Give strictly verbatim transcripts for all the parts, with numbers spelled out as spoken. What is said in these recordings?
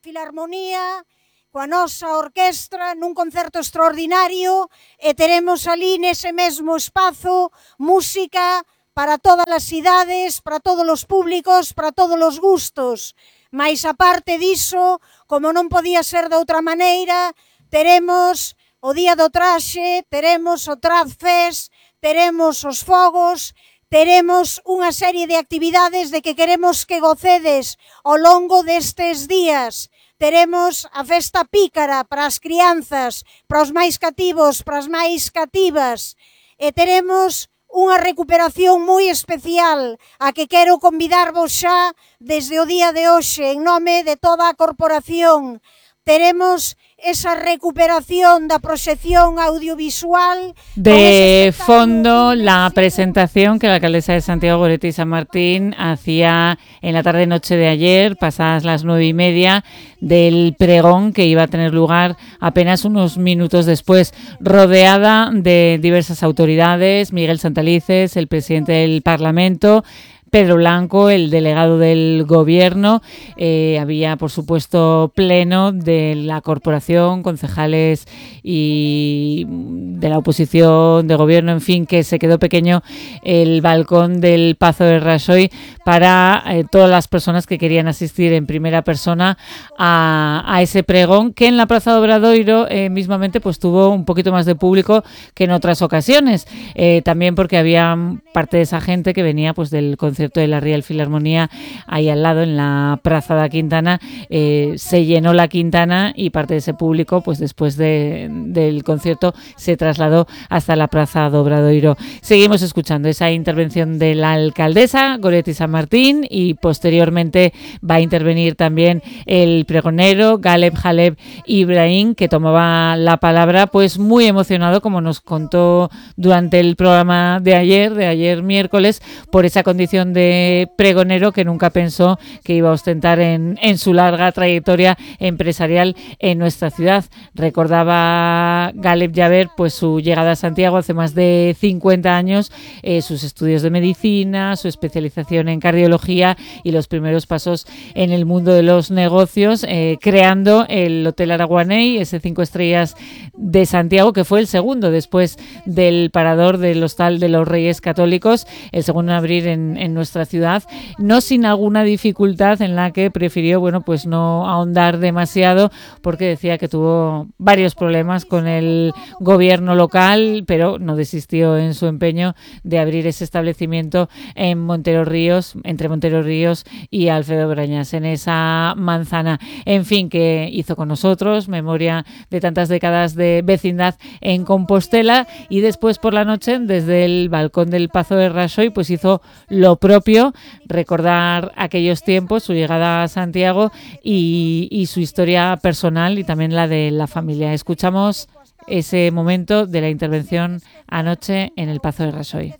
Filarmonía, coa nosa orquestra nun concerto extraordinario, e teremos ali nese mesmo espazo música para todas as idades, para todos os públicos, para todos os gustos. Mais aparte diso, como non podía ser de outra maneira, teremos o Día do Traxe, teremos o Trad Fest, teremos os fogos, teremos unha serie de actividades de que queremos que gocedes ao longo destes días. Teremos a festa pícara para as crianzas, para os máis cativos, para as máis cativas, e teremos unha recuperación moi especial a que quero convidarvos xa desde o día de hoxe en nome de toda a corporación. Teremos esa recuperación da proxección audiovisual. De fondo, la presentación que la alcaldesa de Santiago, Goretti San Martín, hacía en la tarde-noche de ayer, pasadas las nueve y media, del pregón que iba a tener lugar apenas unos minutos después, rodeada de diversas autoridades, Miguel Santalices, el presidente del Parlamento, Pedro Blanco, el delegado del gobierno. Eh, había, por supuesto, pleno de la corporación, concejales y de la oposición, de gobierno, en fin, que se quedó pequeño el balcón del Pazo de Raxoi para eh, todas las personas que querían asistir en primera persona a, a ese pregón, que en la Plaza de Obradoiro eh, mismamente pues tuvo un poquito más de público que en otras ocasiones, eh, también porque había parte de esa gente que venía pues del concierto de la Real Filarmonía ahí al lado en la Praza da Quintana. Eh, se llenó la Quintana y parte de ese público pues después de, del concierto se trasladó hasta la Plaza do Obradoiro. Seguimos escuchando esa intervención de la alcaldesa Goretti San Martín y posteriormente va a intervenir también el pregonero Galeb Jaleb Ibrahim, que tomaba la palabra pues muy emocionado, como nos contó durante el programa de ayer, de ayer miércoles, por esa condición de pregonero que nunca pensó que iba a ostentar en, en su larga trayectoria empresarial en nuestra ciudad. Recordaba Galeb Jaleb pues su llegada a Santiago hace más de cincuenta años, eh, sus estudios de medicina, su especialización en cardiología y los primeros pasos en el mundo de los negocios, eh, creando el Hotel Araguaney, ese cinco estrellas de Santiago, que fue el segundo después del Parador del Hostal de los Reyes Católicos, el segundo en abrir en, en nuestra ciudad, no sin alguna dificultad en la que prefirió, bueno, pues no ahondar demasiado, porque decía que tuvo varios problemas con el gobierno local, pero no desistió en su empeño de abrir ese establecimiento en Montero Ríos, entre Montero Ríos y Alfredo Brañas, en esa manzana. En fin, que hizo con nosotros memoria de tantas décadas de vecindad en Compostela, y después por la noche, desde el balcón del Pazo de Raxoi, pues hizo lo propio, recordar aquellos tiempos, su llegada a Santiago y, y su historia personal y también la de la familia. Escuchamos ese momento de la intervención anoche en el Pazo de Raxoi.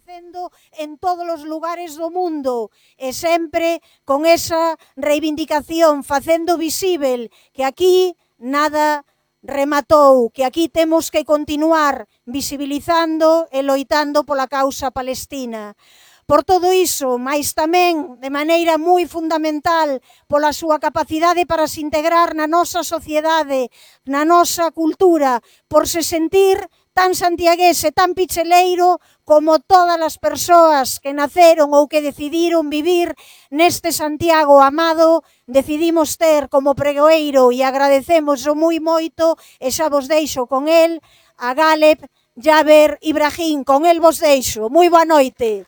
En todos os lugares do mundo e sempre con esa reivindicación, facendo visível que aquí nada rematou, que aquí temos que continuar visibilizando e loitando pola causa palestina. Por todo iso, mais tamén de maneira moi fundamental pola súa capacidade para se integrar na nosa sociedade, na nosa cultura, por se sentir tan santiaguese, tan picheleiro como todas as persoas que naceron ou que decidiron vivir neste Santiago amado, decidimos ter como pregoeiro, e agradecemos o moi moito, e xa vos deixo con el, a Galeb Jaleb Ibrahim. Con el vos deixo. Moi boa noite.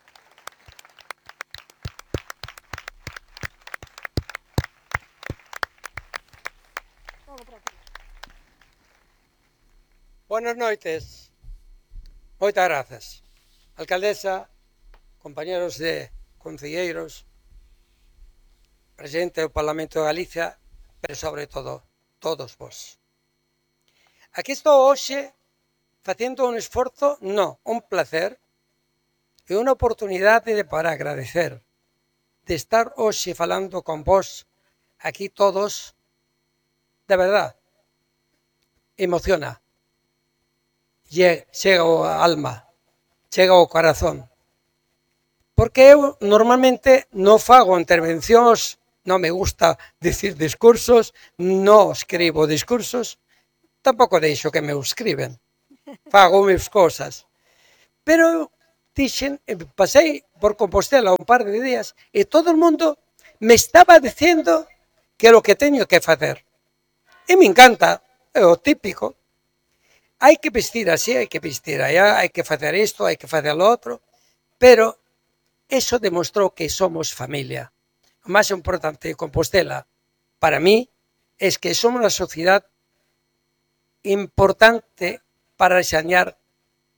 Buenas noites, moitas grazas. Alcaldesa, compañeros de concelleiros, presidente do Parlamento de Galicia, pero sobre todo, todos vos. Aquí estou hoxe facendo un esforzo, no, un placer e unha oportunidade de para agradecer de estar hoxe falando con vos aquí todos, de verdad, emociona. Chega ao alma, chega ao corazón. Porque eu normalmente non fago intervencións no me gusta decir discursos, no escribo discursos, tampouco deixo que me escriben, fago mis cosas. Pero dixen, pasei por Compostela un par de días e todo o mundo me estaba dicindo que é o que teño que facer. E me encanta, é o típico. Hai que vestir así, hai que vestir allá, hai que facer isto, hai que facer lo outro, pero eso demostrou que somos familia. O máis importante de Compostela, para mí, es que somos unha sociedade importante para enseñar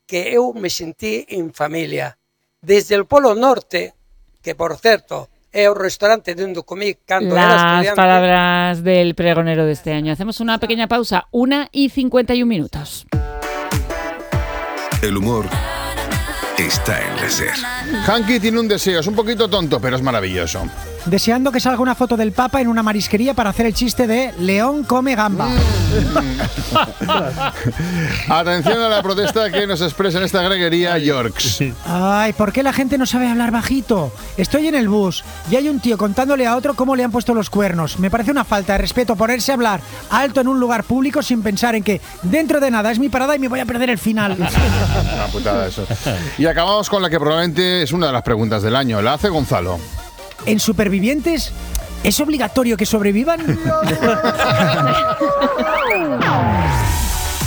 que eu me sentí en familia. Desde o Polo Norte, que por certo é o restaurante de onde comí cando era estudiante. Las palabras del pregonero de este año. Hacemos una pequeña pausa, una y cincuenta y un minutos. El humor está en la SER. Hanky tiene un deseo, es un poquito tonto, pero es maravilloso. Deseando que salga una foto del Papa en una marisquería para hacer el chiste de León come gamba. Atención a la protesta que nos expresa en esta greguería Yorks. Ay, ¿por qué la gente no sabe hablar bajito? Estoy en el bus y hay un tío contándole a otro cómo le han puesto los cuernos. Me parece una falta de respeto ponerse a hablar alto en un lugar público sin pensar en que dentro de nada es mi parada y me voy a perder el final. Una putada eso. Y acabamos con la que probablemente es una de las preguntas del año. La hace Gonzalo. ¿En Supervivientes es obligatorio que sobrevivan?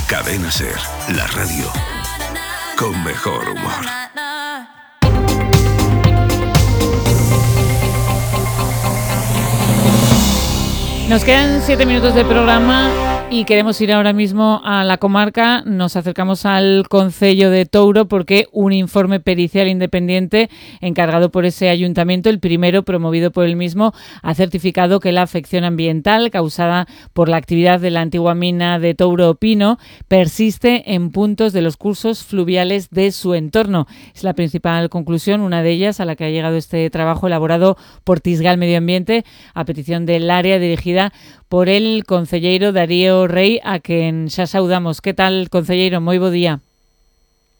Cadena SER, la radio con mejor humor. Nos quedan siete minutos de programa y queremos ir ahora mismo a la comarca. Nos acercamos al Concello de Touro porque un informe pericial independiente encargado por ese ayuntamiento, el primero promovido por el mismo, ha certificado que la afección ambiental causada por la actividad de la antigua mina de Touro Pino persiste en puntos de los cursos fluviales de su entorno. Es la principal conclusión, una de ellas a la que ha llegado este trabajo elaborado por Tisgal Medio Ambiente a petición del área dirigida por el concelleiro Darío Rey, a quen xa saudamos. Que tal, concelleiro? Moi bo día.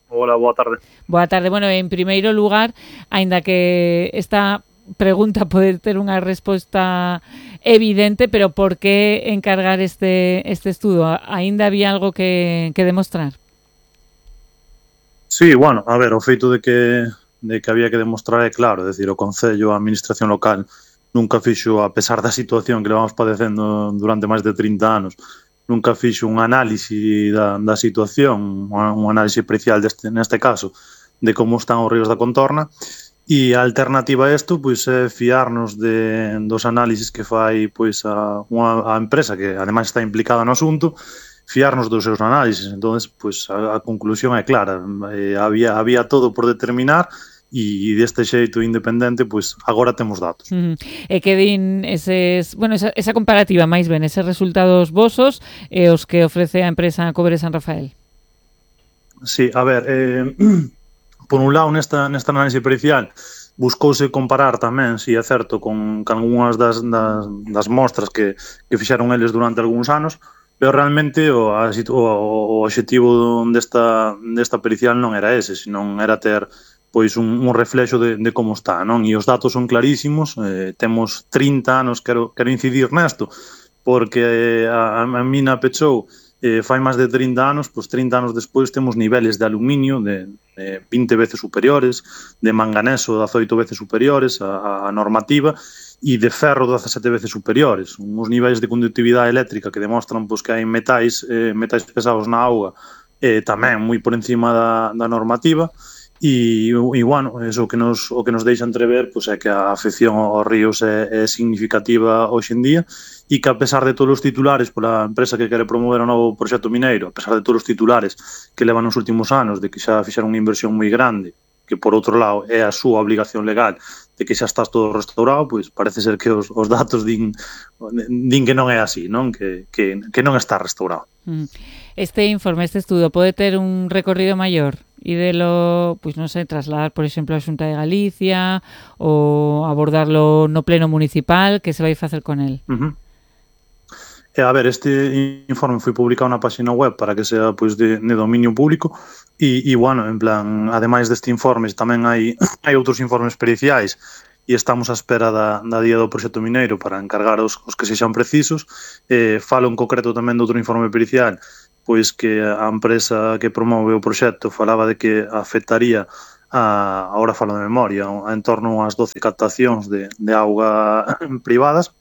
Hola, boa tarde. Boa tarde. Bueno, en primeiro lugar, aínda que esta pregunta pode ter unha resposta evidente, pero por que encargar este este estudo? Aínda había algo que, que demostrar? Sí, bueno, a ver, o feito de que de que había que demostrar é claro, é dicir, o Concello, a Administración local nunca fixo, a pesar da situación que levamos padecendo durante máis de trinta anos, nunca fixo un análise da, da situación, un análise pericial deste, neste caso, de como están os ríos da contorna, e a alternativa a isto pois, é fiarnos de, dos análises que fai pois, a, unha, a empresa que ademais está implicada no asunto, fiarnos dos seus análises. Entón, pois, a, a conclusión é clara, eh, había, había todo por determinar, e deste xeito independente, pois agora temos datos. Uh-huh. E que din eses, bueno, esa, esa comparativa máis ben, eses resultados vosos e os que ofrece a empresa Cobre San Rafael. Sí, a ver, eh, por un lado, nesta, nesta análise pericial buscouse comparar tamén, si é certo, con, con algunhas das, das, das mostras que, que fixeron eles durante algúns anos, pero realmente o, a, o, o objetivo desta, desta pericial non era ese, senón era ter pois un, un reflexo de, de como está, non? E os datos son clarísimos, eh, temos trinta anos, quero, quero incidir nesto, porque a, a mina pechou eh, fai máis de trinta anos, pois trinta anos despois temos niveles de aluminio de, de vinte veces superiores, de manganeso dezaoito veces superiores a, a normativa, e de ferro dezasete veces superiores, uns niveis de conductividade eléctrica que demostran pois, que hai metais, eh, metais pesados na auga, eh, tamén moi por encima da, da normativa. E, e bueno, eso que nos, o que nos deixa entrever pois, é que a afección aos ríos é, é significativa hoxe en día e que a pesar de todos os titulares pola empresa que quere promover o novo proxecto mineiro, a pesar de todos os titulares que levan nos últimos anos de que xa fixeron unha inversión moi grande, que por outro lado é a súa obligación legal de que xa estás todo restaurado, pois parece ser que os, os datos din, din que non é así, non? Que, que, que non está restaurado. Este informe, este estudo, pode ter un recorrido maior e delo, pois non sei, trasladar, por exemplo, a Xunta de Galicia ou abordarlo no pleno municipal, que se vai facer con el? Uh-huh. E, a ver, este informe foi publicado na página web para que sea pois, de, de dominio público e, e, bueno, en plan, ademais deste informe tamén hai, hai outros informes periciais e estamos á espera da, da día do proxecto mineiro para encargar os, os que sexan precisos. Eh, falo en concreto tamén de outro informe pericial, pois que a empresa que promove o proxecto falaba de que afectaría a, agora falo de memoria, en torno ás doce captacións de, de auga privadas,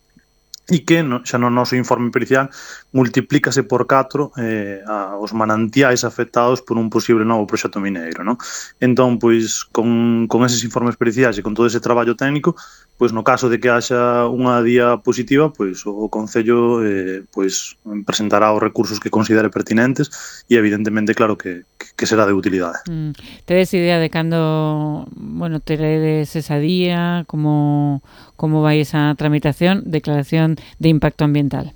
e que no, xa no noso informe pericial multiplícase por catro eh, a, os manantiais afectados por un posible novo proxecto mineiro, non? Entón, pois, con, con eses informes periciais e con todo ese traballo técnico, pois no caso de que haxa unha día positiva, pois o Concello eh, pois presentará os recursos que considere pertinentes e evidentemente claro que, que será de utilidade. Mm. Tedes idea de cando, bueno, teredes esa día, como como vai esa tramitación, declaración de impacto ambiental?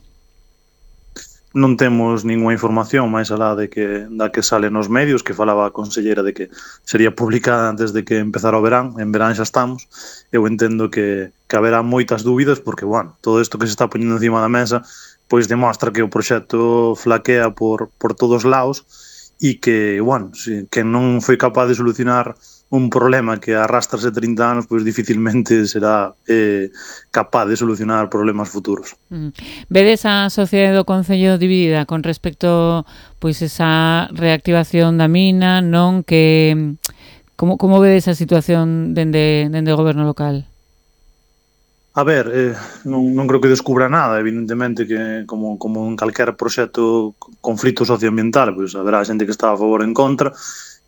Non temos ninguna información máis alá de que da que sale nos medios, que falaba a conselleira de que sería publicada antes de que empezara o verán. En verán xa estamos. Eu entendo que, que haberá moitas dúbidas porque, bueno, todo isto que se está poñendo encima da mesa pois demostra que o proxecto flaquea por, por todos lados e que, bueno, si, que non foi capaz de solucionar un problema que arrastrase trinta anos, pois dificilmente será eh, capaz de solucionar problemas futuros. Mm. Vedes a sociedade do Concello dividida con respecto pois esa reactivación da mina, non? Que como, como vedes a situación dende, dende o goberno local? A ver, eh, non, non creo que descubra nada, evidentemente que como, como en calquer proxecto conflito socioambiental, pois haberá xente que está a favor e en contra,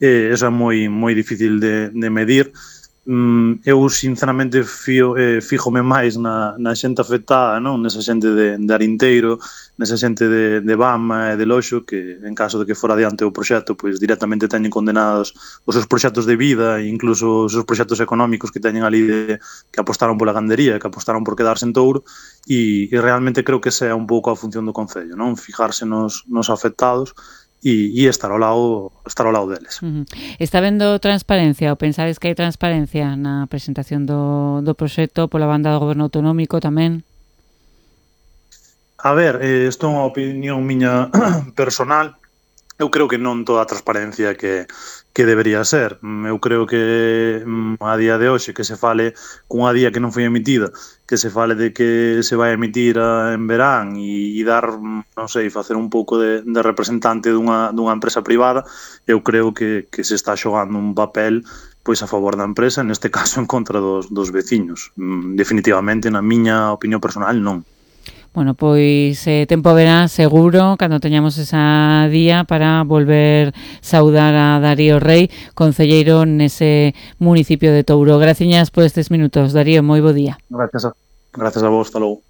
e eso é moi moi difícil de, de medir. Mm, eu sinceramente fío, eh, fíjome máis na, na xente afectada, non? Nesa xente de, de Arinteiro, nesa xente de, de Bama e de Loxo, que en caso de que fora adiante o proxecto, pois directamente teñen condenados os seus proxectos de vida e incluso os seus proxectos económicos que teñen ali de, que apostaron pola gandería, que apostaron por quedarse en Touro, e, e realmente creo que esa é un pouco a función do Concello, non? Fijarse nos, nos afectados e, e estar ao lado estar ao lado deles. Uh-huh. Está vendo transparencia ou pensades que hai transparencia na presentación do, do proxecto pola banda do goberno autonómico tamén? A ver, eh, isto é unha opinión miña personal. Eu creo que non toda a transparencia que, que debería ser. Eu creo que a día de hoxe que se fale cunha día que non foi emitida, que se fale de que se vai emitir en verán e, e dar, non sei, facer un pouco de, de representante dunha, dunha empresa privada, eu creo que, que se está xogando un papel pois a favor da empresa, neste caso en contra dos, dos veciños. Definitivamente, na miña opinión personal, non. Bueno, pois eh, tempo verá seguro cando teñamos esa día para volver saudar a Darío Rei, concelleiro nese municipio de Touro. Graciñas por estes minutos, Darío, moi bo día. Gracias a, gracias a vos, hasta logo.